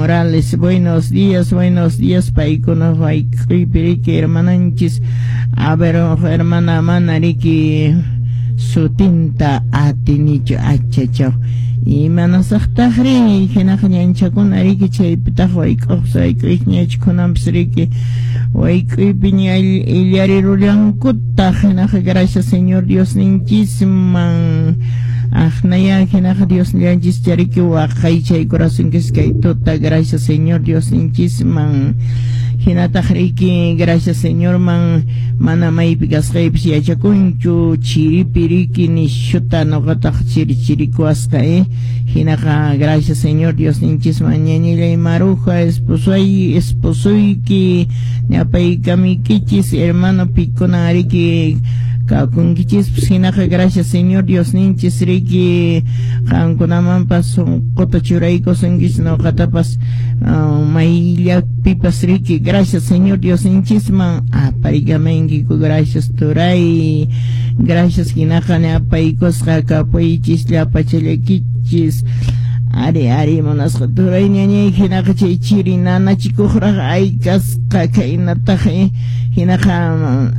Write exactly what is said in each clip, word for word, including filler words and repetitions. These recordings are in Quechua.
Morales, buenos días, buenos días, paykuna wayk'uypi riki hermananchis. A ver, hermana, mana riki sutinta atinichu, achachaw. Imanasaqtaqri hinaqa ñanchakuna riki chaypitaq wayk'uq wayk'uyñachkunanpis riki wayk'uypi ña illarirullankutaq. Hinaqa gracias Señor Diosninchisman. Aqnaya hinaqa Diosllanchis chariki waqaychaykurasunkis kay tuta, gracias Señor Diosninchisman. Hinataq riki gracias Señorman, mana maypi kasqaypis yachakunchu, chiripi riki nishuta nuqataq chiri chirikuwasqa eh. Hinaqa gracias Señor Diosninchisman. Ñañillay Maruja, esposoy, esposoyki ñapaykamiykichis, hermano pikuna riki kakunkichis. Hinaqa gracias Señor Diosninchis riki qankunamanpas sunquta churaykusunkichis, nuqatapas uh, mayllapipas riki gracias Señor Diosninchisman aparikamankiku. Gracias turay, gracias. Hinaqa ñapaykusqa kapuychis llapachallakichis. Ari, ari, munasqa turay ñañay, hinaqa chay chiri nanachikuqraq ay kasqa khaynataq eh. Hinaqa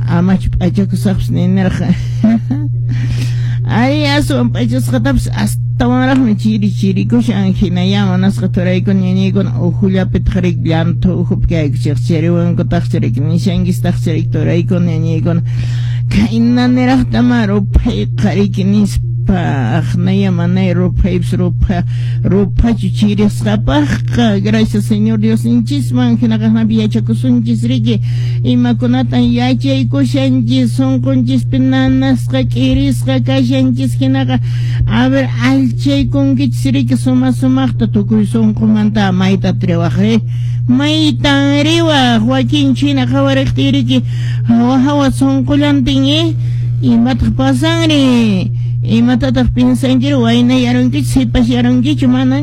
amachu p'achakusaqpas ninirqa. Ay, aswan p'achasqatapas astawanraqmi chiri chirikushan. Hinaya munasqa turaykuna ñañaykuna uhullapitaq riki llanthu uhupi kaykuchik chiriwankutaqchi riki nishankistaqchi riki turaykuna ñañaykuna khayna niraqtama ruphayqa riki nispa. Aqnaya manay ruphaypis rupha ruphachu chirisqapaqqa. Gracias Señor Diosninchisman. Hinaqa hinapi yachakusunchis riki imakunatan yachaykushanchis, sunqunchispi nanasqa k'irisqa kashanchis. Hinaqa a ver, allchaykunkichis riki suma sumaqta tukuy sunqumanta. Mayta riwaq ri, maytan riwaq wakin china qhawariqtiy riki hawa hawa sunqullantin eh. Imataq pasanri? Imatataq piensankiri? Waynayarunkichu, sipashyarunkichu? Mana.